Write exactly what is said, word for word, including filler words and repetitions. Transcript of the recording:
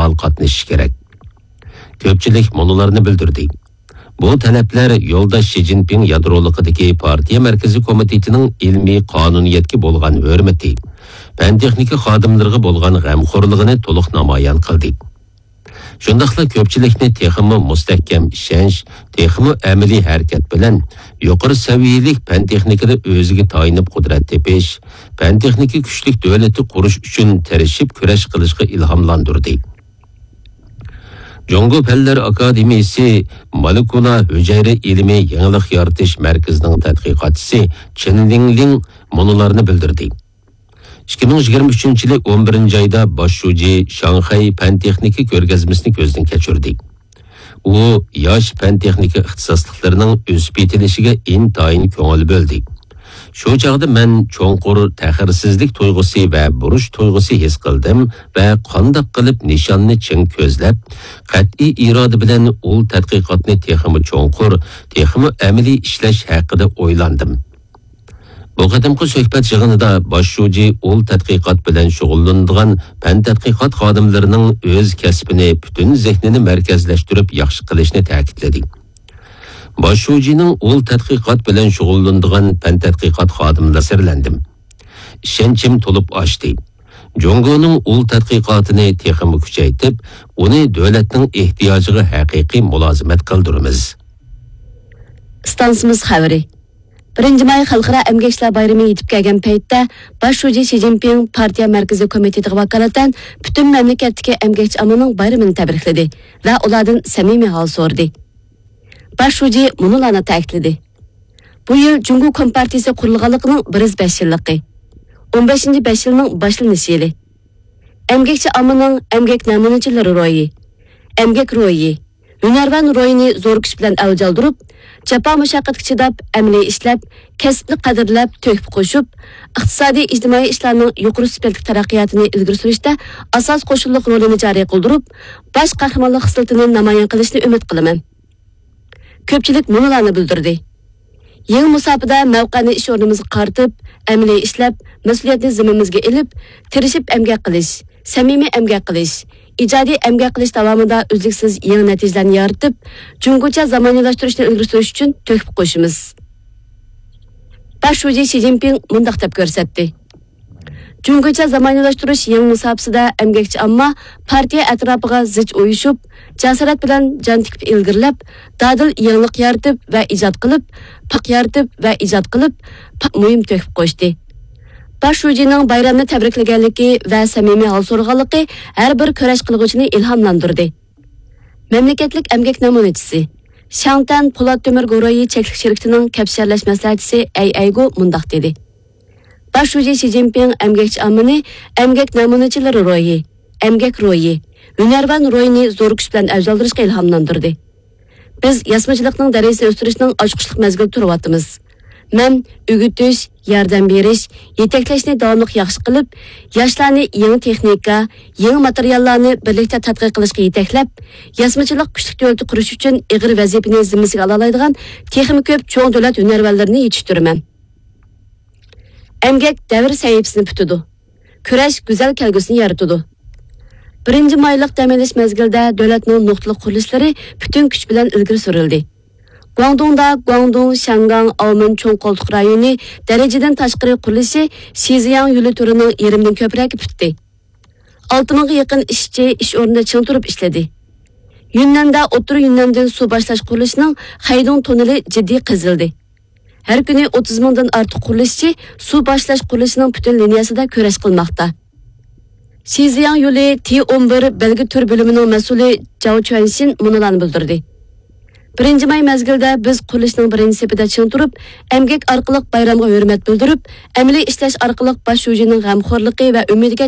پائال قاتنىشىشى كېرەك. كۆپچىلىك مۇنۇلارنى بىلدۈردى. بۇ تەلەپلەر يولداش شى جىنپىڭ يادرولۇقىدىكى پارتىيە مەركىزىي كومىتېتىنىڭ ئىلمىي قانۇنىيەتكە بولغان ھۆرمىتى، پەن-تېخنىكا خادىملىرىغا بولغان غەمخورلۇقىنى تولۇق نامايان قىلدى. شۇنداقلا كۆپچىلىكنى تېخىمۇ مۇستەھكەم ئىشەنچ، تېخىمۇ ئەمەلىي ھەرىكەت بىلەن يۇقىرى سەۋىيەلىك پەن-تېخنىكىدا ئۆزىگە تايىنىپ قۇدرەت تېپىش، پەن-تېخنىكا كۈچلۈك دۆلىتى قۇرۇش ئۈچۈن تىرىشىپ كۈرەش قىلىشقا ئىلھاملاندۇردى. جۇڭگو پەنلەر ئاكادېمىيىسى مولېكۇلا ھۈجەيرە ئىلمى يېڭىلىق يارىتىش مەركىزىنىڭ تەتقىقاتچىسى چېن لىڭلىڭ مۇنۇلارنى بىلدۈردى. ئىككى مىڭ يىگىرمە ئۈچىنچى يىلى ئون بىرىنچى ئايدا باش شۇجى شاڭخەي پەن-تېخنىكا كۆرگەزمىسىنى كۆزدىن كەچۈردى. ئۇ ياش پەن-تېخنىكا ئىختىساسلىقلىرىنىڭ ئۆسۈپ يېتىلىشىگە ئىنتايىن كۆڭۈل بۆلدى. شۇ چاغدا مەن چوڭقۇر تەخىرسىزلىك تۇيغۇسى ۋە بۇرچ تۇيغۇسى ھېس قىلدىم ۋە قانداق قىلىپ نىشاننى چىڭ كۆزلەپ، قەتئىي ئىرادە بىلەن ئۇل تەتقىقاتنى تېخىمۇ چوڭقۇر، تېخىمۇ ئەمەلىي ئىشلەش ھەققىدە ئويلاندىم. بۇ قېتىمقى سۆھبەت يىغىنىدا باش شۇجى ئۇل تەتقىقات بىلەن شۇغۇللىنىدىغان پەن تەتقىقات خادىملىرىنىڭ ئۆز كەسپىنى پۈتۈن زېھنىنى مەركەزلەشتۈرۈپ ياخشى قىلىشنى تەكىتلىدى. باش شۇجىنىڭ ئۇل تەتقىقات بىلەن شۇغۇللىنىدىغان پەن تەتقىقات خادىملىرى سەرلەندىم. ئىشەنچىم تولۇپ ئاشتى. جۇڭگونىڭ ئۇل تەتقىقاتىنى تېخىمۇ كۈچەيتىپ، ئۇنى دۆلەتنىڭ ئېھتىياجىغا ھەقىقىي مۇلازىمەت قىلدۇرىمىز. ئىستانسىمىز خەۋىرى. بىرىنچى ماي خەلقئارا ئەمگەكچىلەر بايرىمى يېتىپ كەلگەن پەيتتە، باش شۇجى شى جىنپىڭ پارتىيە مەركىزىي كومىتېتىغا ۋاكالىتەن پۈتۈن مەملىكەتتىكى ئەمگەكچى ئاممىنىڭ بايرىمىنى تەبرىكلىدى ۋە ئۇلاردىن سەمىمىي ھال سورىدى. باش شۇجى مۇنۇلارنى تەكىتلىدى: بۇ يىل جۇڭگو كومپارتىيىسى قۇرۇلغانلىقىنىڭ بىر يۈز بەش يىللىقى، ئون بەشىنچى بەش يىلنىڭ باشلىنىش يىلى. ئەمگەكچى ئاممىنىڭ ئەمگەك نەمۇنىچىلىرى روھى، ئەمگەك روھى، ھۈنەرۋەن روھىنى زور كۈچ بىلەن ئەۋج ئالدۇرۇپ، جاپا مۇشەققەتكە چىداپ، ئەمەلىي ئىشلەپ، كەسىپنى قەدىرلەپ، تۆھپە قوشۇپ، ئىقتىسادىي، ئىجتىمائىي ئىشلارنىڭ يۇقىرى سۈپەتلىك تەرەققىياتىنى ئىلگىرى سۈرۈشتە ئاساس قوشۇنلۇق رولىنى جارى قىلدۇرۇپ، باش قەھرىمانلىق خىسلىتىنى نامايان قىلىشىنى ئۈمىد قىلىمەن. كۆپچىلىك مۇنۇلارنى بىلدۈردى: يېڭى مۇساپىدە مەۋقەنى ئىش ئورنىمىزغا قارىتىپ، ئەمەلىي ئىشلەپ، مەسئۇلىيەتنى زىممىمىزگە ئېلىپ، تىرىشىپ ئەمگەك قىلىش، سەمىمىي ئەمگەك قىلىش، ئىجادىي ئەمگەك قىلىش داۋامىدا ئۈزلۈكسىز يېڭى نەتىجىلەرنى يارىتىپ، جۇڭگوچە زامانىۋىلاشتۇرۇشنى ئىلگىرى سۈرۈش ئۈچۈن تۆھپە قوشىمىز. باش شۇجى شى جىنپىڭ مۇنداق دەپ كۆرسەتتى: جۇڭگوچە زامانىۋىلاشتۇرۇش يېڭى مۇساپىسىدە ئەمگەكچى ئامما پارتىيە ئەتراپىغا زىچ ئۇيۇشۇپ، جاسارەت بىلەن جان تىكىپ ئىلگىرىلەپ، دادىل يېڭىلىق يارىتىپ ۋە ئىجاد قىلىپ، پاك يارىتىپ ۋە ئىجاد قىلىپ، پاك مۇھىم تۆھپە قوشتى. باش شۇجىنىڭ بايرامنى تەبرىكلىگەنلىكى ۋە سەمىمىي ھال سورىغانلىقى ھەر بىر كۈرەش قىلغۇچىنى ئىلھاملاندۇردى. مەملىكەتلىك ئەمگەك نەمۇنىچىسى، شياڭتەن پولات تۆمۈر گۇرۇھى چەكلىك شىركىتىنىڭ كەپ شەرلەش مەسلىھەتچىسى ئەي ئەيگو مۇنداق دېدى: باش شۇجى شى جىنپىڭ ئەمگەكچى ئاممىنى ئەمگەك نەمۇنىچىلىرى روھى، ئەمگەك روھى، ھۈنەرۋەن روھىنى زور كۈچ بىلەن ئەۋج ئالدۇرۇشقا ئىلھاملاندۇردى. بىز ياسىمىچىلىقنىڭ دەرىجىسىنى ئۆستۈرۈشنىڭ ئاچقۇچلۇق مەزگىلىدە تۇرۇۋاتىمىز. مەن ئۆگىتىش، ياردەم بېرىش، يېتەكلەشنى داۋاملىق ياخشى قىلىپ، ياشلارنى يېڭى تېخنىكا، يېڭى ماتېرىياللارنى بىرلىكتە تەتقىق قىلىشقا يېتەكلەپ، ياسىمىچىلىق كۈچلۈك دۆلىتى قۇرۇش ئۈچۈن ئېغىر ۋەزىپىنى زىممىسىگە ئالالايدىغان تېخىمۇ كۆپ چوڭ دۆلەت ھۈنەرۋەنلىرىنى يېتىشتۈرىمەن. ئەمگەك دەۋر سەھىپىسىنى پۈتىدۇ. كۈرەش گۈزەل كەلگۈسىنى يارىتىدۇ. بىرىنچى مايلىق دەم ئېلىش مەزگىلىدە دۆلەتنىڭ نۇقتىلىق قۇرۇلۇشلىرى پۈتۈن كۈچ بىلەن ئىلگىرى سۈرۈلدى. گۇاڭدۇڭدا گۇاڭدۇڭ، شياڭگاڭ، ئاۋمېن چوڭ قولتۇق رايونى دەرىجىدىن تاشقىرى قۇرۇلۇشى شىزياڭ يولى تۈرىنىڭ يېرىمدىن كۆپرەكى پۈتتى. ئالتە مىڭغا يېقىن ئىشچى ئىش ئورنىدا چىڭ تۇرۇپ ئىشلىدى. يۈننەندە ئوتتۇرا يۈننەندىن سۇ باشلاش قۇرۇلۇشىنىڭ خەيدۇڭ توننېلى جىددىي قېزىلدى. ھەر كۈنى ئوتتۇز مىڭدىن ئارتۇق قۇرۇلۇشچى سۇ باشلاش قۇرۇلۇشىنىڭ پۈتۈن لىنىيەسىدە كۈرەش قىلماقتا. شىزياڭ يولى تى ئون بىر بەلگە تۈر بۆلۈمىنىڭ مەسئۇلى جاۋ چۈەنشىن مۇنۇلارنى بىلدۈردى: بىرىنچى ماي مەزگىلىدە بىز قۇرۇلۇشنىڭ بىرىنچى سېپىدە چىڭ تۇرۇپ، ئەمگەك ئارقىلىق بايرامغا ھۆرمەت بىلدۈرۈپ، ئەمەلىي ئىشلەش ئارقىلىق باش شۇجىنىڭ غەمخورلۇقى ۋە ئۈمىدىگە